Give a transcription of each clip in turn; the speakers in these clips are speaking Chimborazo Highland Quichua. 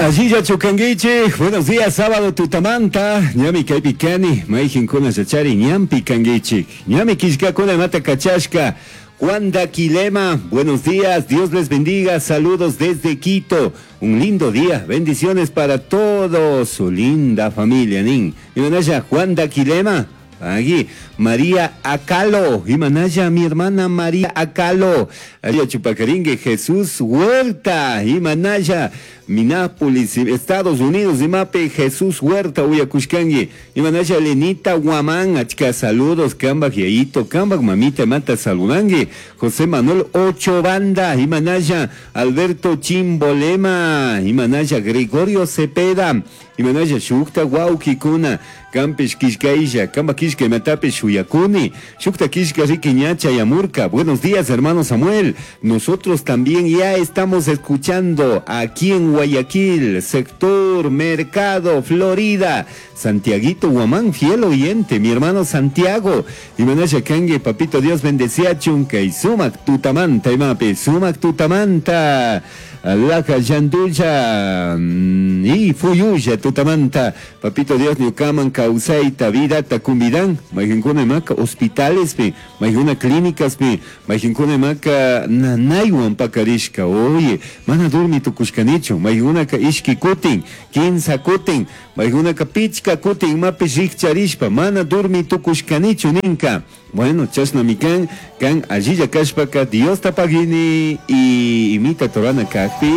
Allillachu kankichik. Buenos días, sábado tutamanta. Ñami kaypi kani, mayqinkuna yachari ñanpi kankichik. Ñami killkakuna imata kachashka. Juan Daquilema, buenos días, Dios les bendiga, saludos desde Quito. Un lindo día, bendiciones para todos, su linda familia, nin. Imanalla, Juan Daquilema, aquí, María Acalo, Imanaya, mi hermana María Acalo, Aria Chupacaringue, Jesús Huerta, Imanaya, Minápolis, Estados Unidos, Imape, Jesús Huerta, Uyacushkangi, Imanaya, Lenita Guamán, Achka, saludos, Kambak, Yayito, Kambak, mamita, mata, saludangi, José Manuel Ocho Banda, Imanaya, Alberto Chimbolema, Imanaya, Gregorio Cepeda, Imanaya, Shukta, Guauquicuna, Campish Kishkailla, Kamba Kishka, Imatape, Shuyakuni, Shukta Kishka, Riquiñacha y Amurca. Buenos días, hermano Samuel. Nosotros también ya estamos escuchando aquí en Guayaquil, sector Mercado, Florida. Santiaguito Guamán, fiel oyente, mi hermano Santiago. Imanaya Kangue, papito Dios bendecía chunca y sumac tutamanta, imape, sumac tutamanta. Laja yandulla y fuyulla tutamanta. Papito Dios ñukaman kawsayta vidata kumbidan. Mayqinkuna imaka hospitalespi, mayqina clínicaspi, mayqinkuna imaka nanaywan pakarishka. Oye, mana durmi tukushkanichu. Mayqinkunaka ishki kutin, kinsa kutin, mayqinkunaka pichka kutin imapish rikcharishpa, mana durmi tukushkanichu ninka. Bueno, chashnami kan, kan allilla kashpaka Diosta pagini y imita torana kakpi,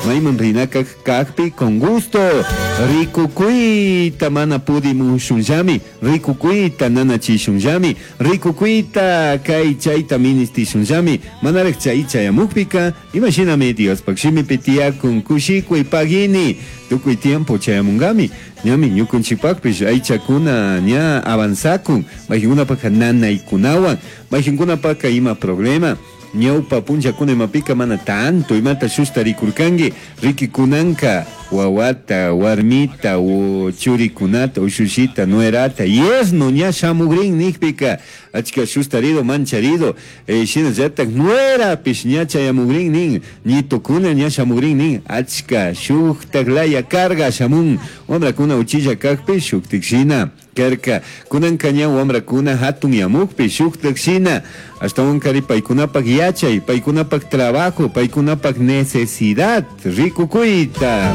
mayman rinaka kakpi con gusto. Rikukuyta mana pudimushunllami, rikukuyta nanachishunllami, rikukuyta kay chayta ministishunllami, manaraq chay chayamukpika, imashinami Diospaq shimipi tiyakun kushikuy pagini, tukuy tiempo chayamunkami. Ñami ñukunchikpaqpish aychakuna ña avanzakun, mayqinkunapaqqa nanaykunawan, mayqinkunapaqqa ima problema. Ñawpa punllakuna imapika mana tanto imata shushta rikurkanki, rikikunanka wawata, warmita, o churikunata, ushushita, nuerata, yerno ña shamugrin nikpika, achka shushtarido, mancharido, shinallatak nuerapish ña chayamugrin nin, ñitukuna ña shamugrin nin, achka shuktak laya carga shamun, wamrakuna uchilla kakpi shuktik shina karka, kunanka ña wamrakuna hatun yamukpi shuktak shina, ashtawankari paykunapak yachay, paykunapak trabajo, paykunapak necesidad, rikukuyta.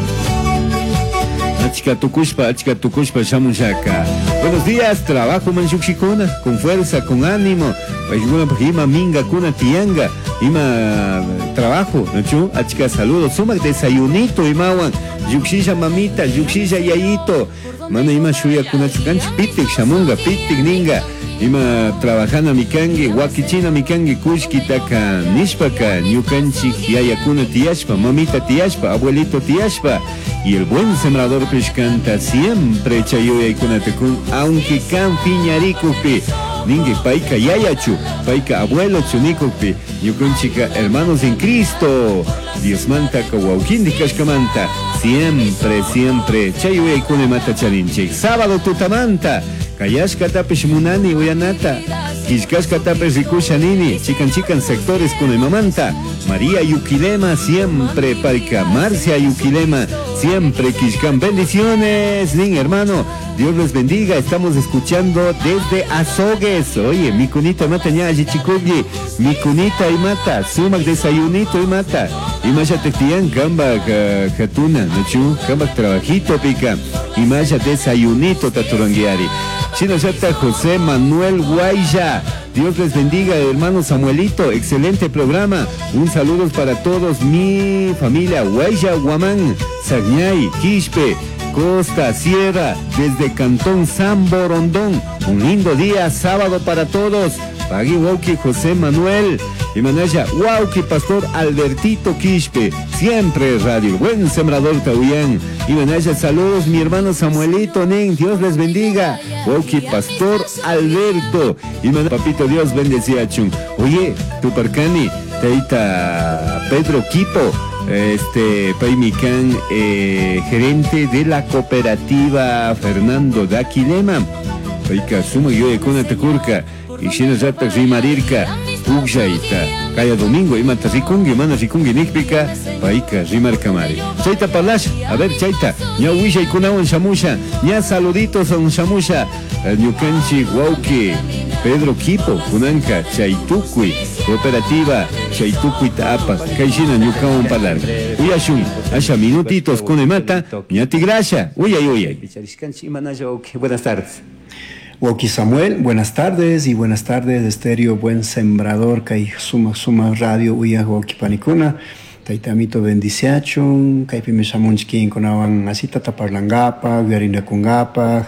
Achka tukushpa, achka tukushpa shamushaka. Buenos días, trabajo manshukshikuna, con fuerza, con ánimo. Paykunapak ima mingakuna tiyanga, ima trabajo, ¿no? Achka saludos, sumak desayunito imawan, yukshisha mamita, yukshisha yayito. Mana ima shuyakunachu kanchik, pitik shamunga, pitik ninga. Ima trabajana mikangi, wakichina mikangi, kushkitaka nishpaka, ñukanchik yayakuna tiyashpa, mamita tiyashpa, abuelito tiyashpa. Y el buen sembrador canta siempre chayuyaykunatakun, aunque kan piñarikupi, ningue paika yayachu, paika abuelo chunikupi, ñukanchika hermanos en Cristo, Dios manta kawauquindi kashkamanta, siempre, siempre, chayuyaykuna mata charinchik. Sábado tutamanta, kayashkatapish munani uyanata, killkashkatapish rikusha nini, chikan chikan sectores kunimamanta, María Yuquilema siempre paica, Marcia Yuquilema siempre killkan. Bendiciones, nin hermano, Dios los bendiga, estamos escuchando desde Azogues. Oye, mi cunita mata ña chikugi, mi cunita y mata, sumac desayunito y mata, y maya tectián, gamba jatuna, nochu, gamba trabajito pica, y maya desayunito taturanguiari. Shinashata José Manuel Guaya. Dios les bendiga, hermano Samuelito. Excelente programa. Un saludo para todos mi familia. Guaya, Guamán, Sagnay, Quispe, Costa, Sierra, desde Cantón San Borondón. Un lindo día, sábado para todos. Pagui Wauki José Manuel. Y Manaya, Wauki Pastor Albertito Quispe. Siempre Radio, buen sembrador Tauyán. Y Manaya, saludos mi hermano Samuelito Nin, Dios les bendiga. Wauki Pastor Alberto. Y Manaya, papito Dios bendecía chun. Oye, Tuparcani, Teita Pedro Quito, Paimicán, gerente de la cooperativa Fernando Daquilema. Paika suma yo de Kunatacurca. Y Shina Rata Rimarirka. Pugllaita kaya domingo imata rikunki mana rikunki nijpika payka rimarkamari. Chayta parlasha, a ver chayta ña willaykunawan shamusha, ña saluditos shamusha, ñukanchik wawki Pedro Quipo kunanka chay tukuy cooperativa chay tukuyta apak kay shina ñukawan parlarka. Uyashun asha minutitos kunemata ña tigrasha, uyay uyay. Buenas tardes. Wauki Samuel, buenas tardes y buenas tardes, Estéreo Buen Sembrador, kay suma suma radio uyaj wauki panikuna, tayta amito bendiciachun, kaypimi shamunchik kinkunawan asitata parlankapaj, yuyarinakunkapaj,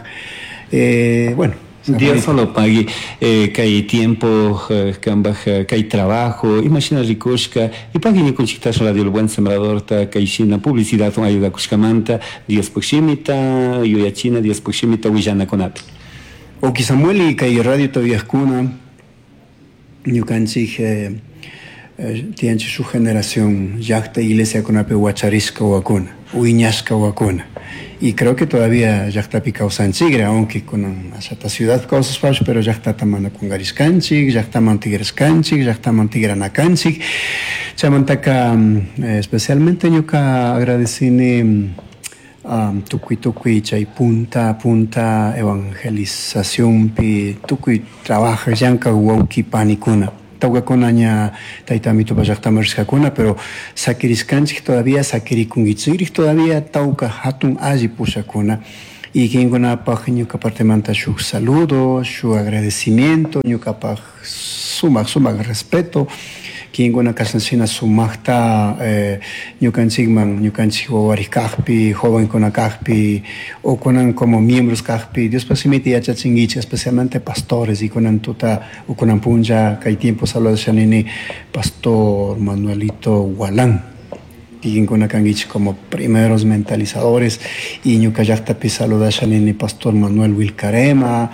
bueno. Dios solo pague kay tiempo, kambaj kay trabajo, imagina rikushka, y pagui ñukunchiktash Radio El Buen Sembrador ta kay shina publicidad ayudakushkamanta, Dios pukshimita, yuyachina, Dios pukshimita willanakunapi. Wauki Samuel y kay radio todavía ñukanchik tiyanchik su generación llaqta iglesia kunapi wacharishka wawakuna, wiñashka wawakuna. Y creo que todavía llaqtapi kawsanchikra, aunque kunan ashata ciudad kawsashpash, pero llaqtata mana kungarishkanchik, llaqtaman tigrashkanchik, llaqtaman tigranakanchik. Chaymantaka, especialmente ñuka agradecini tukuy tukuy chay punta punta evangelizacionpi tukuy trabaja llankak wawki panikuna. Tawkakuna ña tayta amitopa llaqtaman rishkakuna, pero sakirishkanchik todavía, sakirikunkichikrik todavía tawka hatun alli pushakuna. Y kinkunapaj ñuka partemanta shuk saludo, shuk agradecimiento, ñukapaj sumak, sumak respeto. Kinkuna kashna sumakta ñukanchikman, ñukanchik wawarik kajpi, jovenkuna kajpi, o kunan como miembros kajpi, Dios pasimiti yachachinkichik, especialmente pastores, y kunan tuta, o kunan punlla, kay tiempo saludashanini, Pastor Manuelito Gualán. Kinkuna kankichik como primeros mentalizadores, y ñuka llaqtapi saludashanini Pastor Manuel Wilcarema,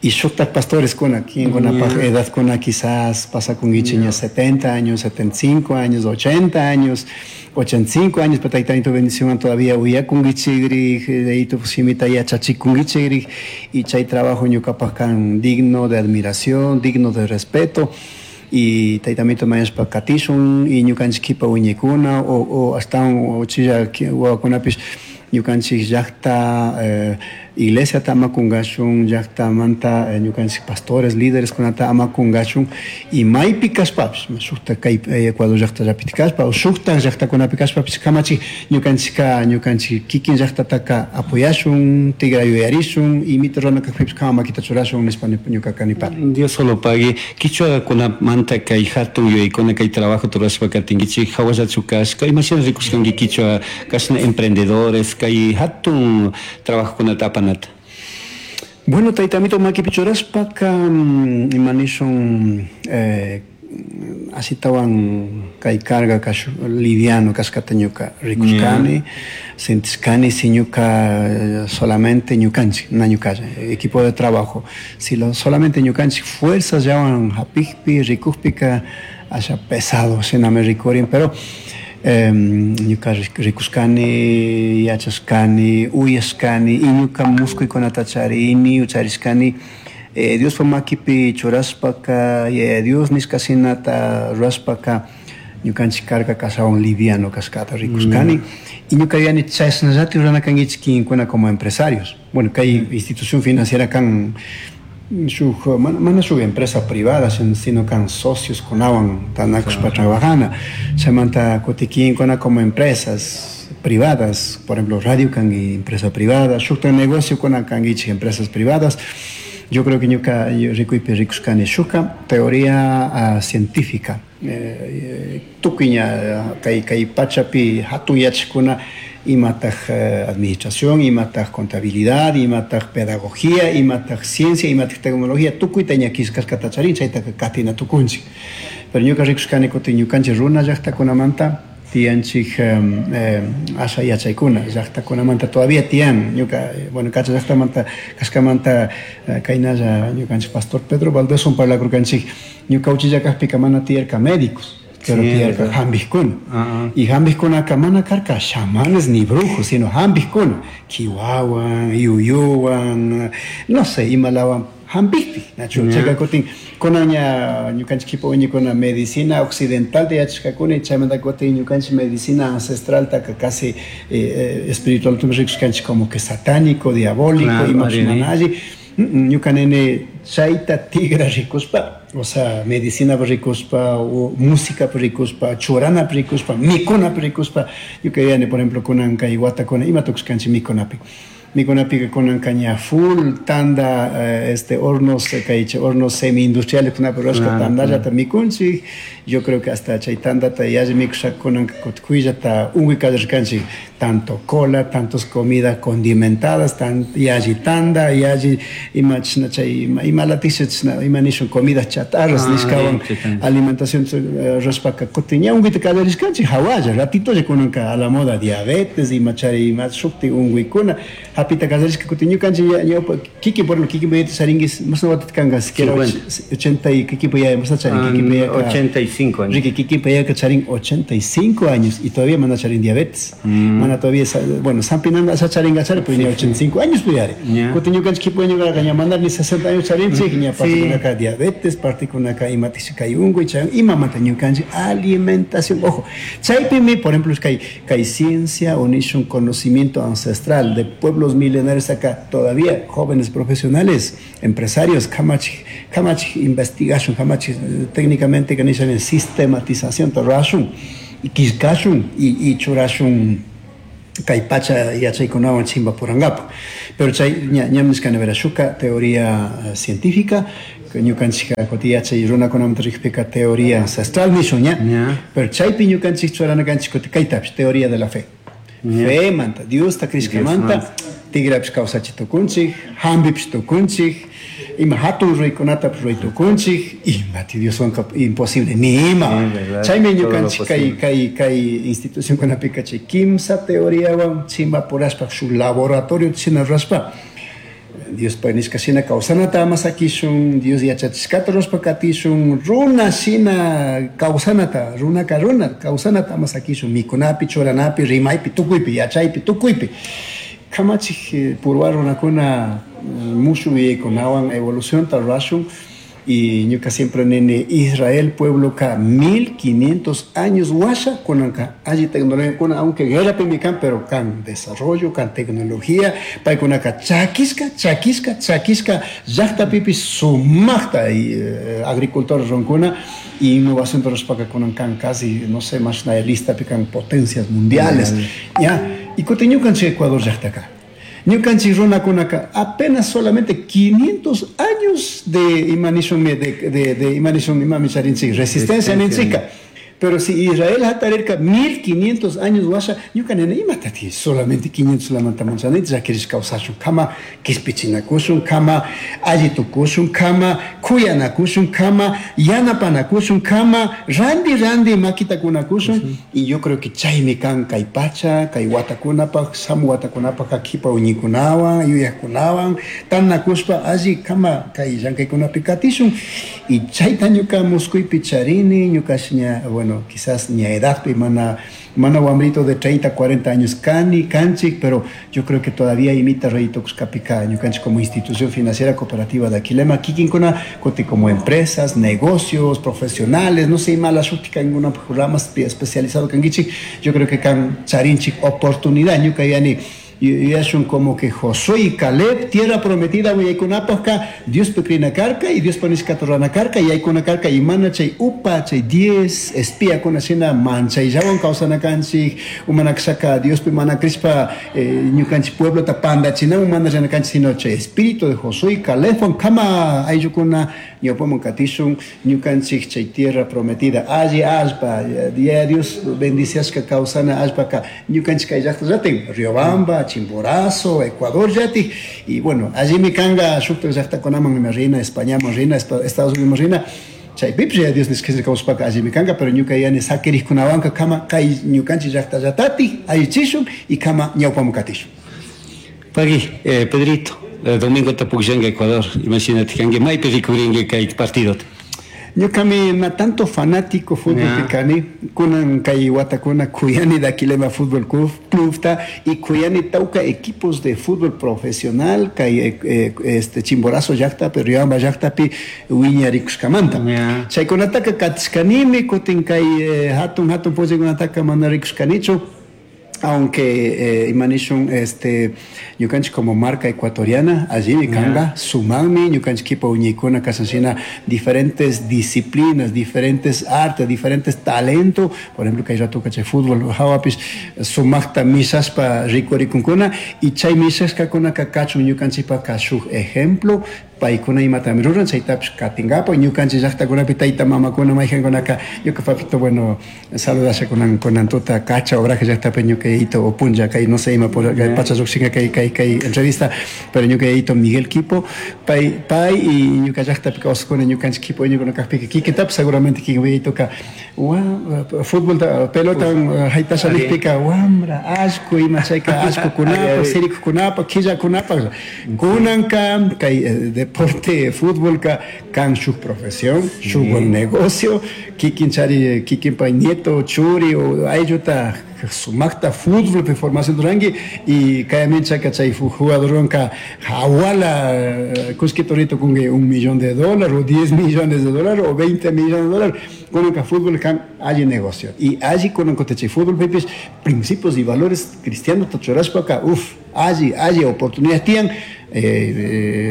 y shuktak pastores kuna, kinkunapaj edad kuna quizás pasa kunkichik ña 70 años, 75 años, 80 años, 85 años, pero tayta bendición todavía uyakunkichikrik, de ahí tu simita yachachikunkichikrik, y chay trabajo ñukapaj kan digno de admiración, digno de respeto. Y tayta amito mañashpa katishun, y ñukanchik kipa wiñaykuna, o hasta o chilla wawakunapish ñukanchik llaqta, iglesia ta amakunkashun, llaqtamanta, ñukanchik pastores, líderes kunata amakunkashun, y maypi kashpapish, shukta kay Ecuador llaqtallapi kashpa, o shukta llaqtakunapi kashpapish kamachik ñukanchikka, ñukanchik kikin llaqtataka apoyashun, tigra yuyarishun, y mito runa kajpipish kama makita churashun nishpa ñukaka nipani. Dios solo pague. Kichwakunamanta kay hatun yuyaykuna kay trabajo turashpa katinkichik, hawallachu kashka, imashina rikushkanki kichwa kashna emprendedores, kay hatun trabajokunata apanata. Bueno, tayta amito makipi churashpaka, imanishun, asitawan kay carga kashu, liviano kashkata ñuka rikushkani, sentishkani, si ñuka solamente ñukanchik, na ñukalla, equipo de trabajo, si lo, solamente ñukanchik fuerzas llawan hapikpi, rikukpika, asha pesado, shinami rikurin, pero ñuka rikushkani, yachashkani, uyashkani, y ñuka muskuykunata charini, ucharishkani, Diospa makipi churashpaka, Yaya Dios nishka shinata rurashpaka, ñukanchik carga kashawan liviano kashkata rikushkani. Y ñuka yuyani chashnallati rurana kankichik kinkuna como empresarios. Bueno, kay institución financiera kan shuk, mana shuk empresa privada, sino kan socios kunawan tanakushpa trabajana. Chaymanta kutikinkuna como empresas privadas, por ejemplo, radio kan empresa privada, shukta negocio kuna kankichik empresas privadas. Yo creo que ñuka rikuypi rikushkani shuka teoría científica. Tukuy ña kay pachapi hatun yachakuna imataj administración, imataj contabilidad, imataj pedagogía, imataj ciencia, imataj tecnología, tukuyta ña killkashkata charin, chaytaka katina tukunchik. Pero ñuka rikushkani kutin ñukanchik runa llaqtakunamanta tiyanchik asha yachaykuna llaqtakunamanta todavía tiyan ñuka, bueno, kacha llaqtamanta kashkamanta kaynalla ñukanchik pastor Pedro Valdés un parlakurkanchik ñuka uchilla kajpika mana tiyarka médicos, pero tiyarka jambijkuna. Y jambijkunaka mana karka chamanes ni brujos, sino jambijkuna, kiwawan, yuyuwan, no sé, imalawan. Hampikpi, nachu? Chayka kutin kunan ña ñukanchik kipa uñikuna medicina occidentalta yachashkakuna, chaymanta kutin ñukanchik medicina ancestraltaka casi espiritualtami rikushkanchik como que satánico, diabólico, imapish mana alli. Ñuka nini chayta tigra rikushpa, o sea, medicinapi rikushpa, o musicapi rikushpa, churanapi rikushpa, mikunapi rikushpa, ñuka yuyani, por ejemplo, kunan kay watakuna ima tukushkanchik mikunapi. Mikunapika kunanka ña full tanda, este hornos, kay hornos semi industriales kunapi rurashka tandallata mikunchik. Yo creo que hasta chay tandata yalli mikushaka kunanka kutkuyllata unkuy kallarishkanchik, tanto cola, tantos comida condimentadas, tan yalli tanda, yalli ima chashna chay ima latiksha chashna ima nishun comida chatarras nishkawan alimentación rurashpaka kutin ña unkuyta kallarishkanchik hawalla ratitolla kunanka a la moda diabetes ima chari ima shukti unkuykuna hapita kallarishka. Kutin ñukanchik ñawpa kikin, por ejemplo, kikin yayata charinguis, mashna watata kanka siquiera? 80 y kikinpa yaya mashna charin? Kikinpa yayaka 85 años. Riqui, kikinpa yayaka charin 85 años y todavía mana charin diabetes, mana todavía, bueno, sampinanda asha charinga chari, pero ña 85 años pues yari. Kutin ñukanchik kipa ñukanaka ña mandar ni 60 años charinchik, ña partikunaka diabetes, partikunaka imatish kay unkuy chay imamanta ñukanchik alimentación. Ojo, chaypimi, por ejemplo, kay ciencia o nishun conocimiento ancestral de pueblos milenarios acá, todavía jóvenes profesionales, empresarios, kamachik, kamachik investigación, kamachik técnicamente que nishan sistematización rurashun y killkashun y churashun kay pacha yachaykunawan chimpapurankapak. Pero chay ña ñam nishkani vera shuka teoría científica, ñukanchik kutin yachay runakunamanta rikpika teoría ancestral nishun ña. Pero chaypi ñukanchik churana kanchik kutin kaytapish, teoría de la fe. Fe manta, Diosta crishkamanta, tigrapish kawsachi tukunchik, hampipish tukunchik, ima hatun ruraykunatapish ruray tukunchik, imati Dioswanka imposible, ni ima. Chaymi ñukanchik kay institucionkunapika chay kimsa teoriawan chimpapurashpa shuk laboratorio shina rurashpa, Diospa nishka shina kawsanata ama sakishun, Dios yachachishkata rurashpa katishun, runa shina kawsanata, runaka runa kawsanata ama sakishun, mikunapi, churanapi, rimaypi, tukuypi, yachaypi, tukuypi. Kamachik purwa runakuna mushuk yuyaykunawan evolucionta rurashun. Y ñuka siempre nini Israel pueblo ka 1500 años washa kunanka alli tecnología kuna, aunque guerra kan, pero kan desarrollo, kan tecnología, paykunaka chakishka, chakishka, chakishka llaqtapipish sumakta y agricultores runkuna y innovación rurashpaka kunan kan casi, no sé, más lista kan potencias mundiales. Ya, y kutin ñukanchik Ecuador llaqtaka. Ñukanchik runakunaka apenas solamente 500 años de imanishun de imanishun imami charinchik resistencia ninchika. Pero si Israel hatarirka 1500 años washa, ñuka nena imatati solamente 500 lamanta manchanit, ya quieres kawsashun kama kispichinakushun kama alli tukushun kama kuyanakushun kama yanapanakushun kama randi randi makitakunakushun. Y yo creo que chaymi kan kay pacha, kay watakunapaj, shamu watakunapaj kipa uñikunawan, yuyajkunawan, tanakushpa alli kama kay llankaykunapi katishun. Y chayta ñuka muskuypi charini, ñuka ña, bueno, quizás ni a edad, mana, mana wambrito de 30, 40 años cani, canchik, pero yo creo que todavía imita reyito kuskapika, ñukanchik como institución financiera cooperativa de Aquilema, kikinkuna, koti como empresas, negocios, profesionales, no sé, mala shutika, ninguna rama especializado kangichik, yo creo que kan charinchik oportunidad, ñuka yani, y es un como que Josué y Caleb, tierra prometida, willakunapajka, Dios pekrina karka y Dios panishka torrana karka, y aykuna karka, y mana chay upa, chay 10, espía kuna shina manchayllawan kawsana kanchik, umanakshaka, Dios pe mana krishpa, ñukanchik pueblo ta pandachina, umana llana kanchik, sino chay espíritu de Josué y Caleb, kama ayllukuna, ñawpaman katishun, ñukanchik chay tierra prometida, alli allpa, ya Dios bendiciashka kawsana allpaka, ñukanchik kay llaqta llatin, Riobamba, Chimborazo, Ecuador, yati, y bueno, allí mi kanga, shukta llaqta kunaman mi reina, España mi reina, Estados Unidos mi reina, chay pipsi ya Dios nishka kawsapaka allí mi kanga, pero ñuka yani sakirikunawanka kama kay ñukanchik llaqta llatati, allichishun y kama ñawpaman katishun. Pagui, Pedrito, domingo tapukllanka Ecuador, imagínate, kanki maypi rikurinki kay partidota. Ñuqami na tanto fanático fútbol kani, kunan kay watakuna kuyani Daquilema Fútbol Clubta y kuyani tawka equipos de fútbol profesional kay este Chimborazo llaqtapi, Riobamba llaqtapi wiñarikushkamanta. Chaykunataka katishkanimi, kutin kay hatun hatun pugllaykunataka mana rikushkanichu. Aunque imanishun este ñukanchik como marca ecuatoriana allimi kanga sumanmi ñukanchik kipa uñaykuna kashanshina diferentes disciplinas, diferentes artes, diferentes talentos. Por ejemplo, kay ratuka chay fútbol hawapish sumaqta mishashpa rikurikunkuna y chay mishashkakunaka kachun ñukanchikpaka shuk ejemplo paykuna imatami ruran chaytapish katinkapak ñukanchik llaqtakunapi tayta mamakuna mayjankunaka ñuka papito, bueno, saludasha kunan kunan tuta Cacha Obraje llaqtapi ñuka yayito o punlla kay no sé ima pacha llukshinka kay kay kay entrevista, pero ñuka yayito Miguel Quipo pay pay y ñuka llaqtapi kawsakuna ñukanchik Quipo iñukuna kaqpika kikintapish seguramente kikin yayitoka wa futbolta pelota haytasha nijpika wambra allku ima chayka allkukunapaq sirikukunapaq killakunapaq kunanka kay deporte fútbolka kan shuk profesión, shuk buen negocio, kikin chari kikinpa nieto churi o aylluta sumakta fútbol pe formación ruranki y kayminchaka chay jugadorwanka hawala kullkita kunki $1 millón o $10 millones o $20 millones. Kunanka fútbol kan alli negocio y alli kunan chay fútbol pipis principios y valores cristianos churashpaka, uf, alli alli oportunidades tiyan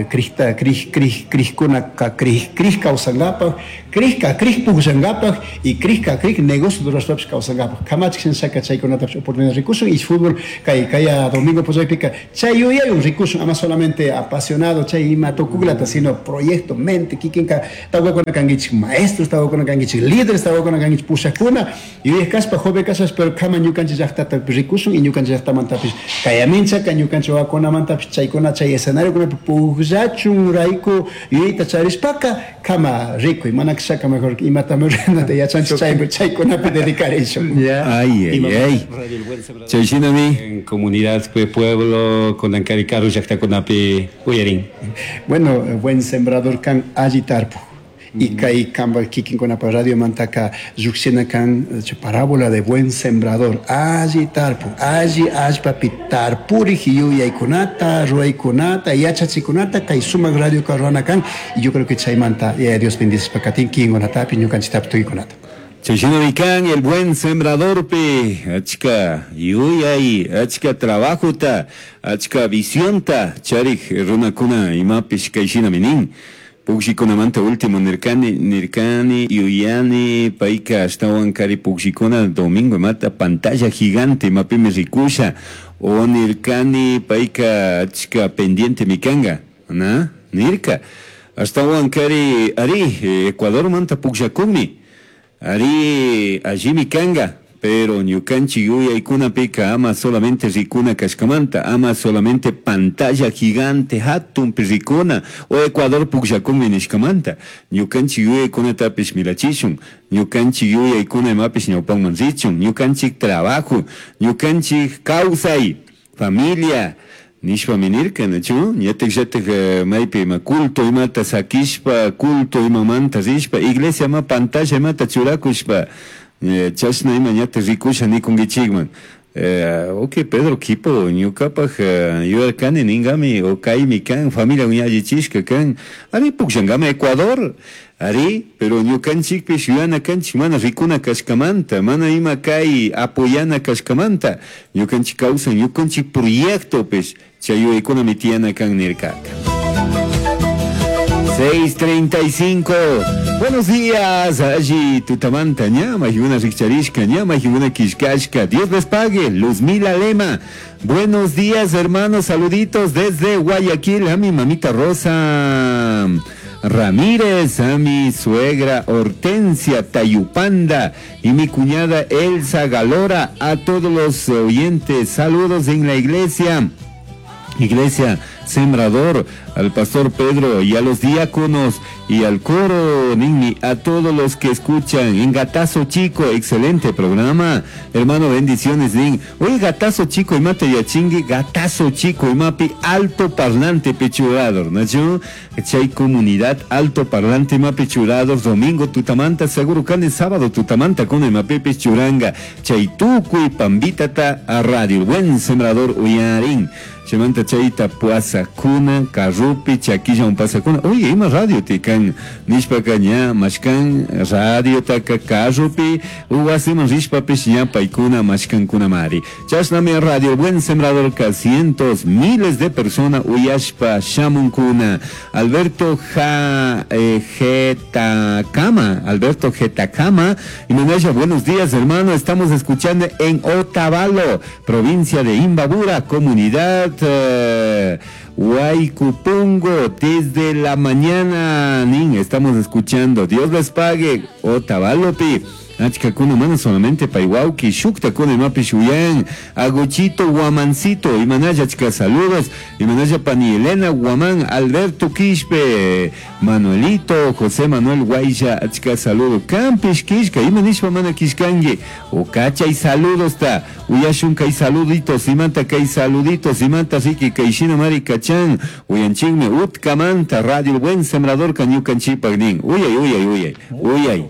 krista krij krij krijkunaka krij krij kawsankapak krijka krij pukllankapak y krijka krij negocio rurashpapish kawsankapak kamachik shinashaka chaykunatapish oportunidad rikushun y fútbol kay kaya domingo pullaypika chay yuyaywan rikushun, ama solamente apasionado chay ima tukuklata, sino proyecto mente kikinka tawkakuna kankichik maestros, tawkakuna kankichik líderes, tawkakuna kankichik pushakuna yuyay kashpa, joven kashpa, pero kama ñukanchik llaqtata rikushun y ñukanchik llaqtamantapish kayaminchaka ñukanchik wawakunamantapish chaykuna chay escenariokunapi pukllachun rayku yuyayta charishpaka kama rikuy, mana kashaka mejor imatami ruranata yachanchik chay chaykunapi dedicarishun. Ay, ay, ay. Chay shinami. En comunidad, pueblo, kunankari karu llaqtakunapi uyarin. Bueno, buen sembrador kan alli tarpuk. Y kay kanpa kikinkunapa radio mantaka llukshina kan parábola de buen sembrador, alli tarpuk, alli allpapi tarpurik yuyaykunata, ruwaykunata, yachachikunata kay sumak radio rurana kan. Y yo creo que chaymanta Dios bendicishpa katin kikinkunatapi ñukanchiktapi tukuykunata. Chashinami kan el buen sembradorpi achka yuyay, achka trabajota, achka visionta charik runakuna imapish kayshinami nin. Pukshikunamanta último nirkani, nirkani, yuyani, payka ashtawan kari pukshikuna domingo imata pantalla gigante imapimi rikusha o nirkani payka achka pendiente mikanga, na? Nirka. Ashtawan kari ari Ecuador manta pukllakunmi. Ari allimi kanga, pero ñukanchik yuyaykunapika ama solamente rikuna kashkamanta, ama solamente pantalla gigante hatunpi rikuna o Ecuador pukllakunmi nishkamanta, ñukanchik yuyaykunatapish mirachishun, ñukanchik yuyaykuna imapish ñawpanman richun, ñukanchik trabajo, ñukanchik kawsay, familia, nishpami nirka, nachu? Ñatik llatik maypi ima culto imata sakishpa, culto imamanta rishpa, iglesia ma pantalla imata churakushpa, chashna ima ñatik rikusha nikunkichikman. Ok, Pedro Quipo, ñukapaj yuyarkani ningami o kaymi kan, familia allichishka kan, ari pukllankami Ecuador, ari, pero ñukanchikpish yuyana kanchik mana rikuna kashkamanta, mana ima kay apoyana kashkamanta, ñukanchik kawsan, ñukanchik proyectopish chay yuyaykunami tiyana kan nirkaka. 6:35. Buenos días, allí tutamanta, ñama, y una richarishka, ñama, y una kishkashka. Dios les pague, Luzmila Lema. Buenos días, hermanos, saluditos desde Guayaquil a mi mamita Rosa Ramírez, a mi suegra Hortensia Tayupanda y mi cuñada Elsa Galora, a todos los oyentes. Saludos en la iglesia. Iglesia San Sembrador, al pastor Pedro y a los diáconos y al coro, ninmi, a todos los que escuchan en Gatazo Chico, excelente programa, hermano, bendiciones, nin. Oye, Gatazo Chico, imate yachingui, Gatazo Chico, imapi, alto parlante pechurador, ¿no? Chay comunidad, alto parlante mapi churador, domingo tutamanta, seguro can sábado tutamanta con el mapepe churanga, chay tucuy pambitata a radio, buen sembrador uyarin. Chaymanta chayta puasakuna, carrupi, chaquilla un pasakuna. Oye, ima radio tikan, nishpaka ña, mashkan, radio taka carrupi, uwasiman rishpapish ña paykuna mashkankunamari. Chashnami radio Buen Sembrador ka cientos, miles de personas uyashpa shamunkuna. Alberto Ja, Getakama, Alberto Getakama, y Manaya, buenos días hermano, estamos escuchando en Otavalo, provincia de Imbabura, comunidad Huaycupungo, desde la mañana, nin, estamos escuchando. Dios les pague, Otavalo pi. Achkakuna mana solamente paiwauki, shuktakuna imapi shuyan, Aguchito Guamancito, Imanaya achka saludos, Imanaya Pani Elena Guamán, Alberto Quispe, Manuelito, José Manuel Guaysha, achka saludo, Campish Quishka, imanishpa mana Quishkangi, Ocacha y saludos ta, Uyashun kay saluditos, imanta kay saluditos, imanta riki kay shina mari kachan, uyanchinme utkamanta, Radio El Buen Sembrador kañukanchipag nin, uyay, uyay, uyay, uyay.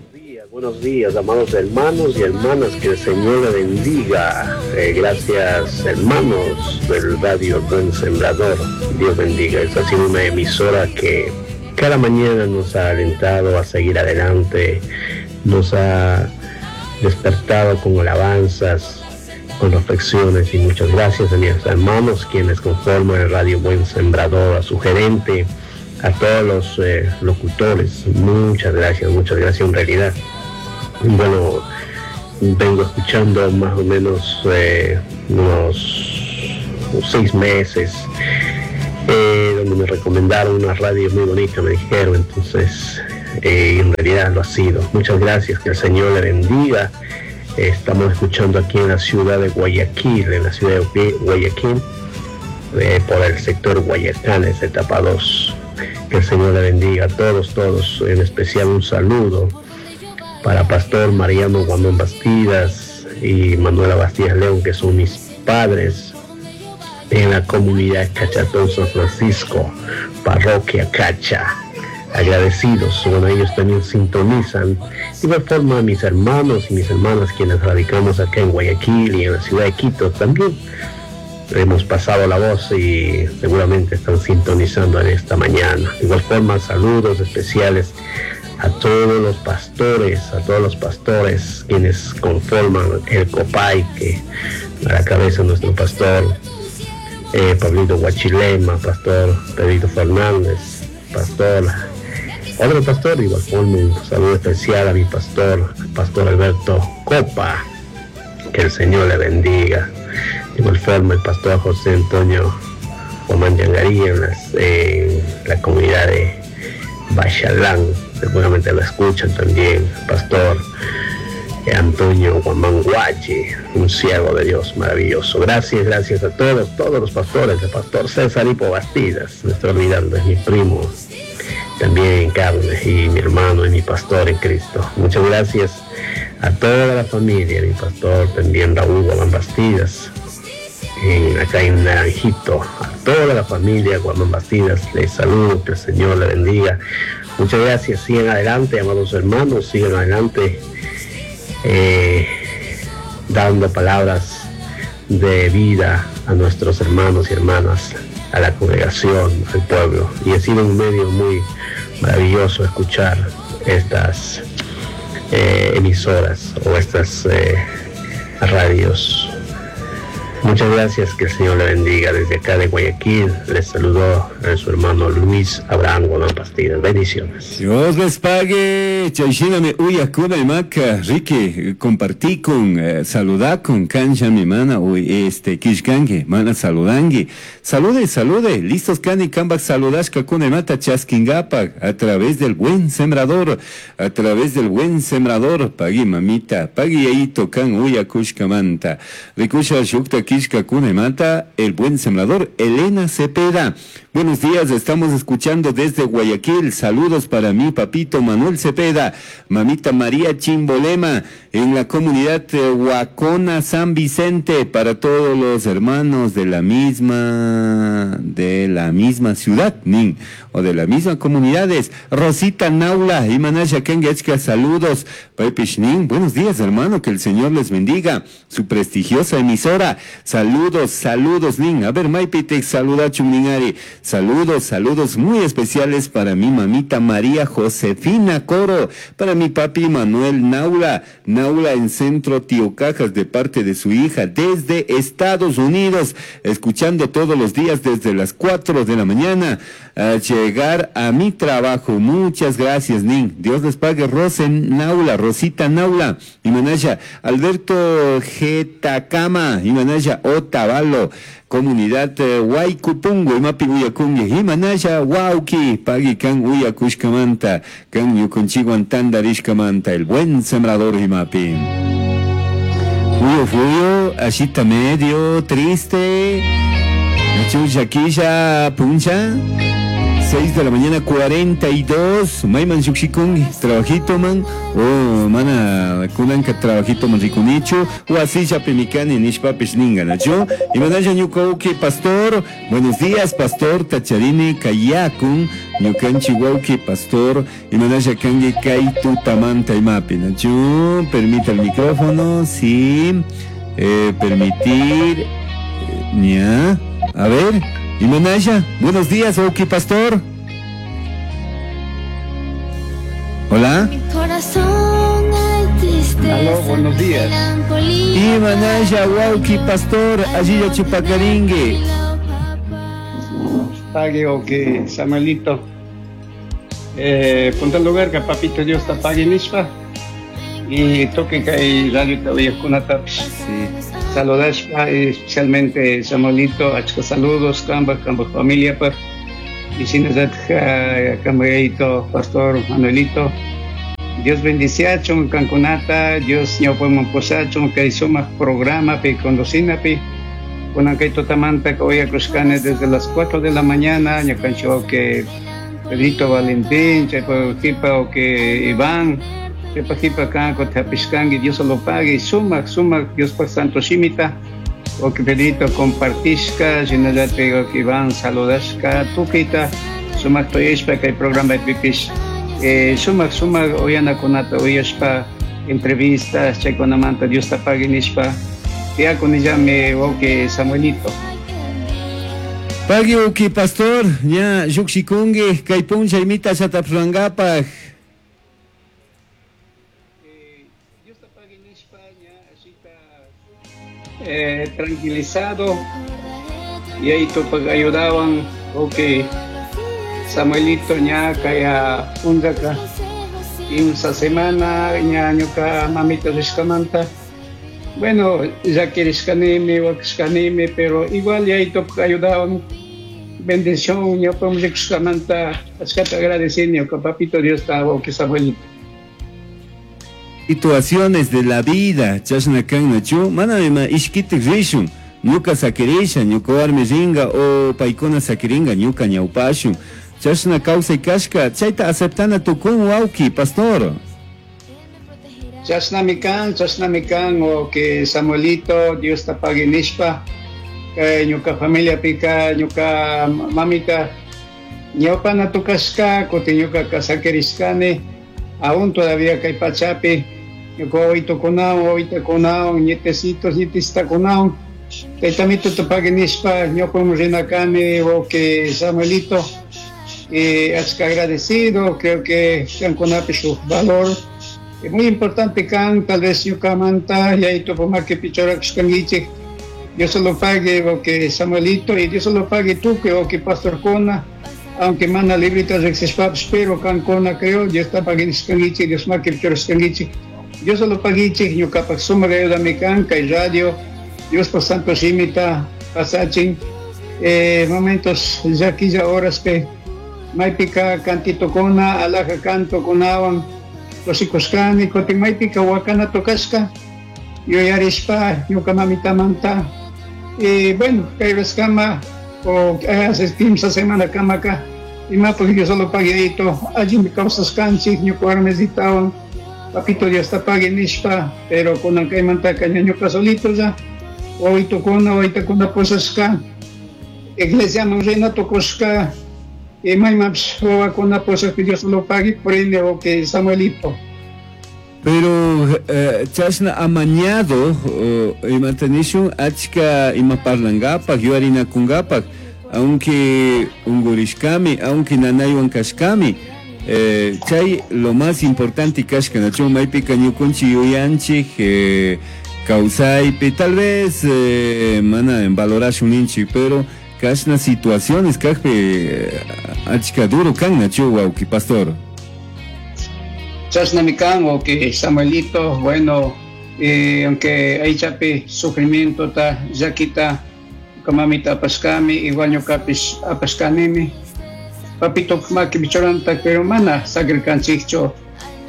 Buenos días, amados hermanos y hermanas, que el Señor le bendiga. Gracias, hermanos del Radio Buen Sembrador. Dios bendiga. Esta ha sido una emisora que cada mañana nos ha alentado a seguir adelante, nos ha despertado con alabanzas, con reflexiones, y muchas gracias a mis hermanos quienes conforman el Radio Buen Sembrador, a su gerente, a todos los locutores. Muchas gracias, muchas gracias en realidad. Bueno, vengo escuchando más o menos unos 6 meses, donde me recomendaron una radio muy bonita, me dijeron, entonces en realidad lo ha sido. Muchas gracias, que el Señor le bendiga. Estamos escuchando aquí en la ciudad de Guayaquil, en la ciudad de Guayaquil, por el sector Guayacanes, etapa 2. Que el Señor le bendiga a todos, todos, en especial un saludo para Pastor Mariano Guamán Bastidas y Manuela Bastidas León, que son mis padres en la comunidad Cachatón San Francisco, parroquia Cacha. Agradecidos, bueno, ellos también sintonizan. De igual forma, mis hermanos y mis hermanas quienes radicamos acá en Guayaquil y en la ciudad de Quito también hemos pasado la voz y seguramente están sintonizando en esta mañana. De igual forma, saludos especiales a todos los pastores, a todos los pastores quienes conforman el COPAI, que a la cabeza nuestro pastor Pablito Guachilema, pastor Pedrito Fernández, pastor, otro pastor, de igual forma un saludo especial a mi pastor, pastor Alberto Copa, que el Señor le bendiga. De igual forma el pastor José Antonio Guamán Yangarí en la comunidad de Bachalán, seguramente lo escuchan también, pastor Antonio Guamán Guachi, un siervo de Dios maravilloso. Gracias, gracias a todos, todos los pastores, el pastor César Hipo Bastidas, me estoy olvidando, es mi primo también en carne y mi hermano y mi pastor en Cristo. Muchas gracias a toda la familia, mi pastor también Raúl Guamán Bastidas, acá en Naranjito, a toda la familia Guamán Bastidas, les saludo, que el Señor le bendiga. Muchas gracias, sigan adelante, amados hermanos, sigan adelante, dando palabras de vida a nuestros hermanos y hermanas, a la congregación, al pueblo. Y ha sido un medio muy maravilloso escuchar estas emisoras o estas radios. Muchas gracias, que el Señor le bendiga. Desde acá de Guayaquil les saludó a su hermano Luis Abraham Guamán Bastidas. Bendiciones. Dios les pague. Chayshinami uyakuna imaka, Ricky, compartí con, saludá con cancha mi mana, uy, kishkangi, mana saludangi. Salude, salude, listos kani kambak saludashka kuna imata chaskingapak, a través del buen sembrador, a través del buen sembrador, pagui mamita, pagui yaito kan uyakushkamanta. Rikusha shukta Sakishkakunamanta El Buen Sembrador, Elena Cepeda. Buenos días, estamos escuchando desde Guayaquil. Saludos para mi papito Manuel Cepeda, mamita María Chimbolema, en la comunidad Huacona San Vicente, para todos los hermanos de la misma ciudad, nin, o de la misma comunidades. Rosita Naula y Manasha Kengechka, saludos. Paipishnin, buenos días, hermano, que el Señor les bendiga. Su prestigiosa emisora. Saludos, saludos, nin. A ver, Maipitec, saluda Chumningari. Saludos, saludos muy especiales para mi mamita María Josefina Coro, para mi papi Manuel Naula, Naula en Centro Tío Cajas, de parte de su hija desde Estados Unidos, escuchando todos los días desde las 4 de la mañana a llegar a mi trabajo. Muchas gracias, nin. Dios les pague. Rosen Naula, Rosita Naula, Imanaya, Alberto Getacama, Imanaya Otavalo, comunidad Huaycupungo, Imapi Uyakungi, Imanaya Wauki, Pagui Kan Uyakushkamanta, Kan Yukunchiguan Tandarishkamanta, El Buen Sembrador Imapi. Fuyo, fuyo, ashita medio, triste, Chuyaquilla, puncha. 6 de la mañana 42, Mayman Yukshikungi, trabajito man, o mana kunanka trabajito man rikunichu, o así ya pemicani nishpapis ninganachu, y manaya ñukauki pastor, buenos días pastor Tacharini Kayakun, ñukanchi wauki pastor, y manaya kangi kaitu tamanta imapi, nachu, permita el micrófono, sí, permitir, ya, a ver. Y Manaya, buenos días, Oki Pastor. Hola. Mi corazón hay tristeza. Aló, buenos días. Y Manaya, Wauki Pastor, allí ya Chupacaringue. Pague, Oki, Samuelito. Punta lugar que papito Dios te pague nishpa. Y toque que hay radio todavía con ataps. Sí. Saludashpa, especialmente Samuelito, achka saludos, kamba, kamba familia, pa. Y sinazat kambaito, Pastor Manuelito. Dios bendiciachon, kankunata, Dios ñawpaman posachon, kay sumaq programa, pi conducina, pi. Kunan kay totamanta, que hoy acuscane desde las 4 de la mañana, ñakancho que Pedrito Valentín, chaypa o que Iván, chaypa jipa kan, kotapishkangi, Dios lo pague, sumaq, sumaq, Dios pa santo shimita, o que Pedrito compartishka, shinallate o que Iván saludashka, tukita, sumaq toyeshpa, kay programa pipish, sumaq, sumaq, oyanakunata, oyashpa, entrevistas, chaykunamanta, Dios ta pague nishpa, tiakunillami, o que Samuelito. Pagui uki pastor, ña llukshikungi, kay puncha imita shatapruangapaj. Dios ta pague nishpa, ña ashita, tranquilizado, y ahí topag ayudaban, ok, Samuelito ña kaya undaka, imsa semana, ña ñuka mamita rishkamanta. Bueno, ya querishkanimi, wakishkanimi, pero igual ya ahí topag ayudaban. Bendición, ña podemos rishkamanta, achkata agradecen, ñuka papito Dios ta, ok, Samuelito. Situaciones de la vida, chashna kan nachu, mana ima ishkitik rishun, ñuka sakirisha, ñuka warmi ringa, o paykuna sakiringa, ñuka ñawpashun, chashna kawsay kashka, chayta aceptana tukun wawki, pastor. Chashnami kan, o que Samuelito, Dios ta pague nishpa, kay ñuka familia pika, ñuka mamita, ñawpana tukashka, kutin ñuka kasakirishkani, aún todavía kay pachapi, ñuka wawitokunawan, wawitakunawan, nietecitos, nietecitakunawan, taytamito ta pague nishpa, ñawpaman rinakani, o que Samuelito, achka agradecido, creo que kankunapi shuk valor. Es muy importante kan, tal vez ñukamanta, y ahí topo más que pichorakushkanguichik, Dios se lo pague, o que Samuelito, y Dios se lo pague tú, que o que Pastor Kona, aunque mana librita rexishpaps, pero kan kona creo, Dios está paguichik, Dios más que pichorakushkanguichik, Dios se lo paguichik, ñukapak sumaq ayudami kan, kay radio, Dios por santo shimita, pasachin, momentos llakilla horas pe, maypika cantito kona, alaja canto kunawan, kusikushkani, kutin maypika wakana tokashka, yuyarishpa, ñuka mamitamanta, Y bueno, kay kama o hace 15 semana kamaka imapaq Dios solo pagueito allimi kawsasqanchik ñuka warmisitawan papito Dios ta pagui nishpa, pero kunan kaymantaka ña ñuka solito ya wawitokuna waytakuna pusashka iglesiaman rina tukushka y maymanpish wawakuna pushakpi Dios lo pagui purini wawki Samuelito. Pero chashna amañado imata nishun achka ima parlangapak yuarinakungapak, aunque ungurishkami, aunque nanaywan kashkami, chay lo más importante kashka nachu maypika ñukunchik yuyanchik kawsaypi tal vez mana valorashun ninchik, pero kashna situaciones kajpi achka duro kan nachu wawki pastor. Chashnami kan wawki Samuelito, bueno, aunque aychapi sufrimiento ta llakita ñuka mamita apashkami, igual ñukapish apashkanimi, papito makipi churanta, pero mana sakirkanchikchu,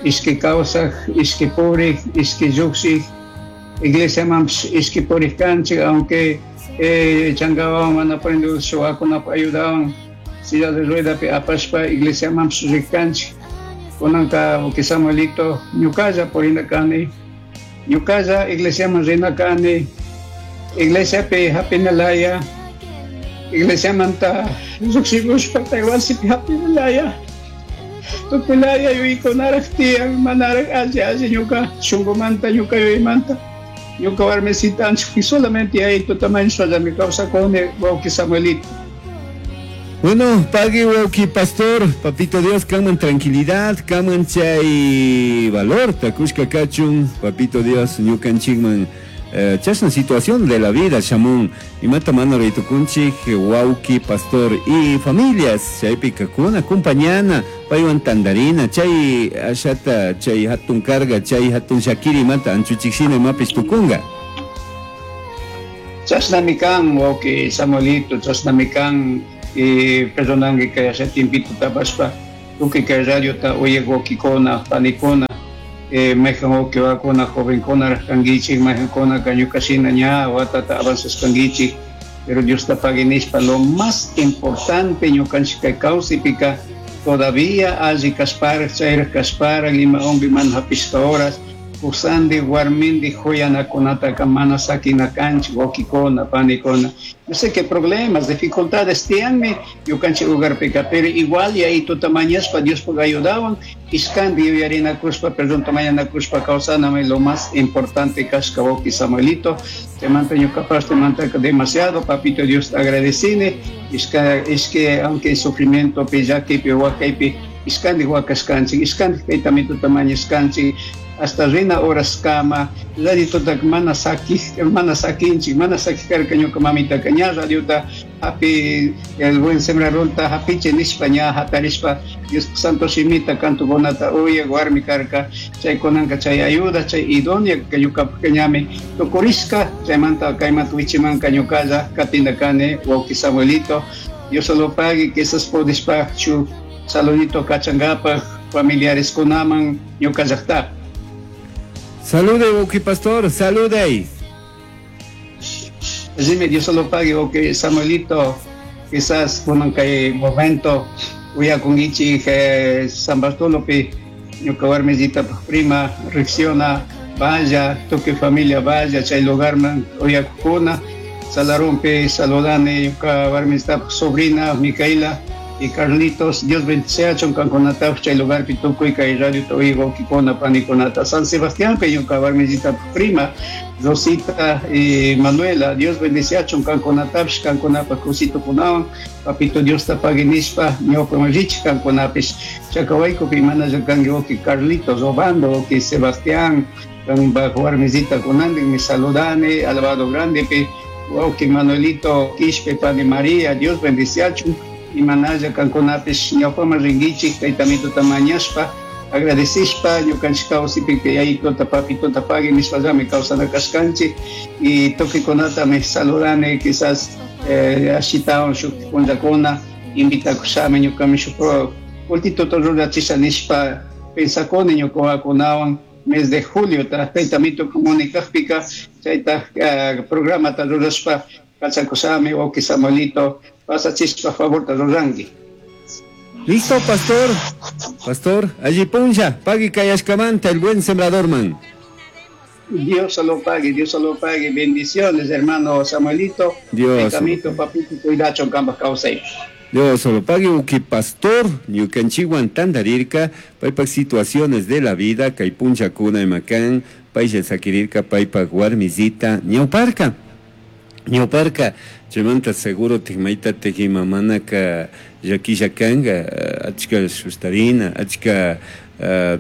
ishki kawsaj, ishki purik, ishki llukshik, iglesiamanpish ishki purik kanchik, aunque changawan mana purindu shuwakunapa ayudawan silla de ruedapi apashpa iglesiamanpish rik kanchik. Kunanka wawki Samuelito ñukalla purina kani, ñukalla iglesiaman rina kani, iglesiapi hapinalaya, iglesiamanta lluqshikushpa kay wasipi hapinalaya, tukuylaya yuyaykunaraq tiyan, manaraq alli alli ñuka shunqumanta ñuka yuyaymanta ñuka warmisita anchik solamente yayito tamaño kawsakuni wawki Samuelito. Bueno, pagui wawki pastor, papito Dios, kaman tranquilidad, kaman chay valor, takushka kachun, papito Dios, ñukanchikman chashna situación de la vida, shamun, imata mana raytukunchik, wawki pastor y familias, chaypi kakuna, acompañana, paywan tandarina, chay ashata, chay hatun carga, chay hatun shakiri, imata anchuchikshina imapish tukunga. Chashnami kan, wawki Samuelito, chashnami kan, y perdonangi kay asha tiempito tapashpa, tukuy kay radiota uyaq wawkikuna, panikuna, mayqan wawki wawakuna, jovenkuna kankichik, mayqankuna ñukashina ña watata avanzashkankichik, pero Dios ta pagui nishpa, lo más importante ñukanchik kay kawsaypika todavía alli kashparaj, chayraj kashparaj, ima unkuy mana hapishka horas, kusandi warmindi huyanakunataka mana sakinakanchik, wawkikuna, panikuna. Yo sé que problemas, dificultades tiyanmi ñukanchik hogarpika, pero igual yayituta mañashpa Diospuk ayudawan, ishkanti yuyarinakushpa, perdonta mañanakushpa kawsanami lo más importante kashka wawki Samuelito. Chaymanta ñukapash chaymantaka demasiado, papito Dios agradecini, ishka aunque sufrimientopi, llakipi, wakaypi, ishkanti wakashkanchik, ishkanti kaytamituta mañashkanchik, hasta rina horas kama, radiotota mana sakij, mana sakinchik, mana sakij karka ñuka mamitaka ña radiota hapi el buen sembradorta hapiche nishpa ña hatarishpa Dios santo shimita cantokunata uyak warmi karka, chaykunanka chay ayuda, chay idónea que ñukapak ñami tukurishka, chaymanta kaymanta wichimanka ñukalla katinda kani wawki Samuelito. Dios solo pague que esas podishpa shu saludito kachangapak familiares kunaman ñuka llaqtapi. Salude, wawki pastor, salude. Dime, Dios solo pague, wawki Samuelito, quizás kunan kay momento uyakunkichik San Bartolopi ñuka warmisita prima reacciona, vaya, tukuy familia vaya chay lugarman uyakukuna, salarumpi saludani ñuka warmisita sobrina Micaela y Carlitos, Dios bendice kankunatapish chay lugarpi tukuy kay radiota uyaq wawkikuna panikunata. San Sebastián pe ñuka warmisita prima Rosita y Manuela, Dios bendice kankunatapish kankunapa kusitukunawan, papito Dios ta pagui nishpa ñawpaman richik kankunapish. Chacawaykupi mana kanki wawki Carlitos Obando, wawki Sebastián, kanpak warmisita kunantin mi saludani, alabado grandepi, wawki Manuelito Quishpe, pani María, Dios bendice imanalla kankunapish ñawpaman rinkichik taytamituta mañashpa agradecishpa ñukanchik kawsaypi yayituta papituta pagui nishpallami kawsana kashkanchik y tukuy saludani quizás ashitawan shuk punllakuna invitakushami ñukami shuk pultituta rurachisha nishpa pensakuni ñuka wawakunawan mes de julio taytamito comunicajpika chayta programata rurashpa Kachakushami wawki Samuelito pasachishpa favorta ruranki. Listo, pastor. Pastor, allí puncha, pagui kayashkamanta, el buen sembrador man. Dios se lo pague, Dios se lo pague. Bendiciones, hermano Samuelito. Dios. Camito, papito, cuidacho, kambaj kawsay. Dios solo pague uki pastor, ñukanchikwan tantarirka, paypak situaciones de la vida, kay punchakuna imakan, paylla sakirirka, paypak warmisita, ñawparka. Ñawparka, chaymanta seguro mayta mamanaka llakilla kanka, achka sustarina, achka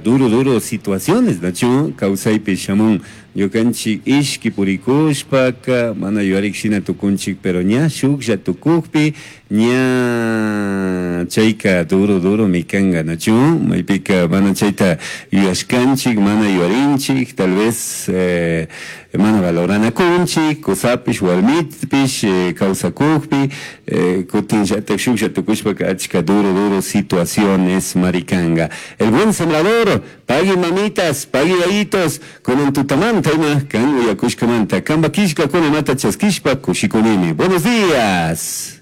duro duro situaciones, nachu kawsaypi shamun ñukanchik ishki purikushpaka mana yuyarik shina tukunchik, pero ña shuklla tukukpi ña chayka duro duro mi kanka, nachu maypika mana chayta yuyashkanchik, mana yuyarinchik, tal vez mana valoranakunchik, kusapish warmipish kawsakukpi, kutinllatak shuklla tukushpaka achka duro duro situaciones maricanga. El buen sembrador, pagui mamitas, pagui yayitos, kunan tutamanta ima kan uyakushkamanta, kamba kishka kunamata chaskishpa kushikunimi. Buenos días.